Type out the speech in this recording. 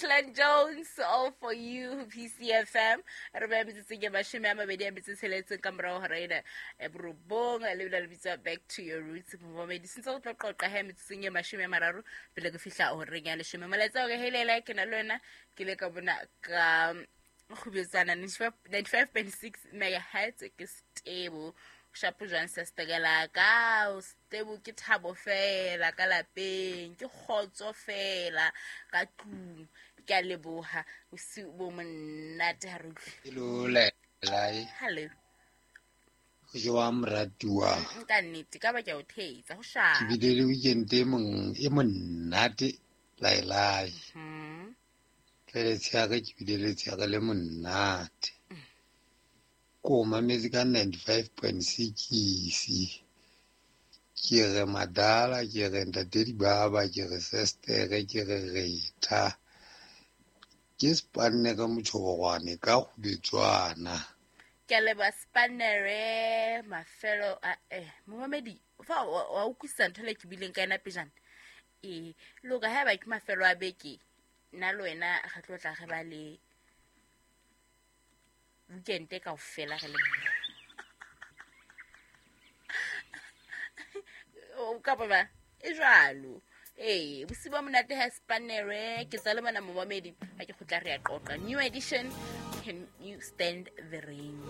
Clan Jones, all for you, PCFM. Re beya metsotsong e 27 ka morao hora ena e borobong, le bile le bitswa Back to Your Roots. Momamedi, sentse go tlo qoqa he metsotsong e 30 pele ke fihla horeng ya 10. Molaetsa o re helela ke na le wena, ke le ka bona ka kgubetsana 95.6 megahertz ke stable. Shapo jwang sestekela ka o stable, ke thabo fela ka lapeng, ke kgotso fela ka tlung. Ke a leboha, bosiu bo monate ha re utlwe. Hello, Lai. Hello. Ho jwang, moratuwa? Ka nnete ka ba ke a o thetsa, ho shapa. Ke bile le weekend e mong e monate, Lai Lai. Le letsheare ke bile le letsheare le monate. Ko mametse ka 95.6. Ke re madala, ke re ntate dibaba, ke re sestere, ke re retha. Ke spanne ka motjhobogwane ka kgubetswana. Ke a leboha Spanere, mafelo a momamedi, fa wa utlwisisa ntho le ke bileng ka yona pejana. Ee, loka haeba ke mafelo a beke, nna le wena re tlo tla re ba le weekend kaofela re le mmoho. O kapa ba e jwalo. Ee, bosiu ba monate ha Spanere, ke tsa le bona momamedi, ha ke kgutla re ya qoqa. New edition, Can You Stand the Rain?